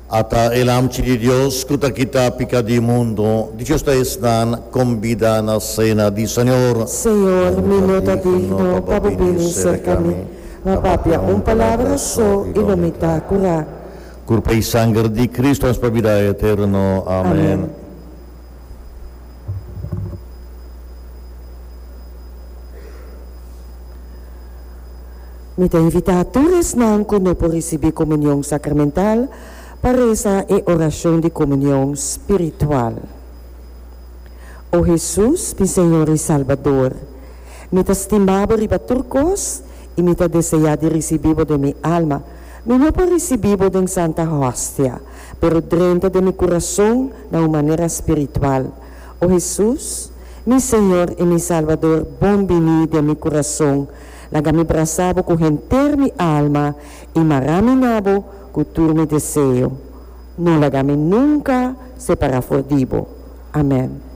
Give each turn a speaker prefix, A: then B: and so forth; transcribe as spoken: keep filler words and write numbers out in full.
A: Ata e Lamchi di Dios ku ta kita piká di mundu, dichoso ta esnan kombidá na sena di Señor.
B: Señor, mi no ta digno pa bo bini serka mi, ma papia un palabra so i lo mi ta kurá.
A: Kurpa i sanger di Kristu nos pa bida eterno. Amèn.
B: Amèn. Mi ta invitá tur esnan ku no por risibí komunion sakramental pa resa e orashon di komunion spiritual. O Hesus, mi Señor i Salbador, mi ta stima bo riba tur kos i mi ta deseá di risibí bo den mi alma. Mi no por risibí bo den Santa Hostia, pero drenta den mi kurason na un manera spiritual. O Hesus, mi Señor i mi Salbador, bon biní den mi kurason. Laga mi brasa bo ku henter mi alma i mara mi na bo ku tur mi deseo. No laga mi nunka separá for di bo. Amèn.